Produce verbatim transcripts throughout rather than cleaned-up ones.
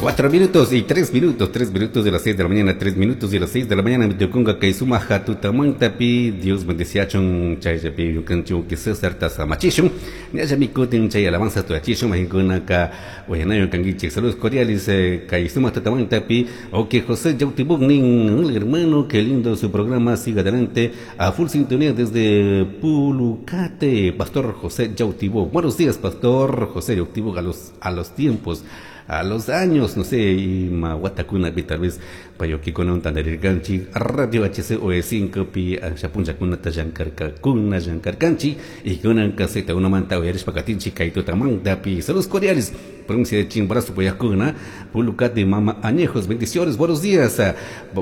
Cuatro minutos y tres minutos, tres minutos de las seis de la mañana, tres minutos de las seis de la mañana, mitukunga kay sumaja tutamantapi, Dios bendeciachun, chayllapi yukanchu que César tasamachishun, ñallami kutin chay alabanza tuyachishun, mahinkunaka uyanayo kanguichik, saludos cordiales, eh, kay sumaja tutamantapi, ok José Yautibugnin, hermano, qué lindo su programa, siga adelante, a full sintonía desde Pulucate, Pastor José Yautibug. Buenos días, Pastor José Yautibug, a los, a los tiempos, a los años, no sé, ima watakuna pi tal vez payokikuna tandarirkanchik Radio H C O E cinco pi asha punllakunata llankarkakuna llankarkanchik y kunanka Z unomanta uyarishpa katinchik kay tutamantapi. Saludos cordiales, provincia de Chimborazo, Poyacuna, Pulucate, Mama Añejos, bendiciones, buenos días.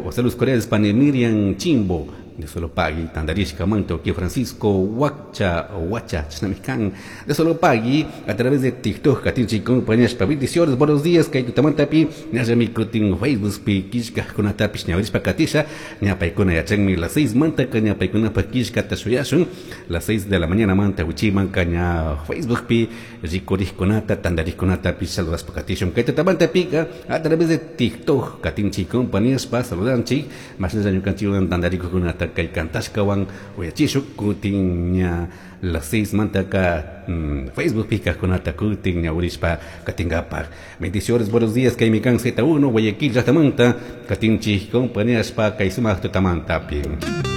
Saludos cordiales, pani Miriam Chimbo, de Solopagui, Tandarishka Manto, que Francisco Huacha, Huacha, Chnamican, de Solopagui, a través de TikTok, katinchik compañías, bendiciones, buenos días, kay tutamantapi, ñallami kutin Facebook pi, kishka kunatapish ñawirishpa katisha, ñapaykuna yachanmi las seis manta, ñapaykunapa kishkata shuyashun, las seis de la mañana manta, wichiman ña Facebook pi, rikurishkunata, tandarishkunatapish saludashpa katishun, kay tutamantapi, a través de TikTok, katinchik compañías, pa saludanchik, mashnalla ñukanchikwan tandarikukunata kay kantashkawan uyachishu kutin ña las seis mantaka mm, Facebook pi kajkunata kutin ñawirishpa katinkapak. Bendiciones, buenos días, kay mikan Z uno Guayaquil llaktamanta katinchik compañías pa kay sumak tutamantapi.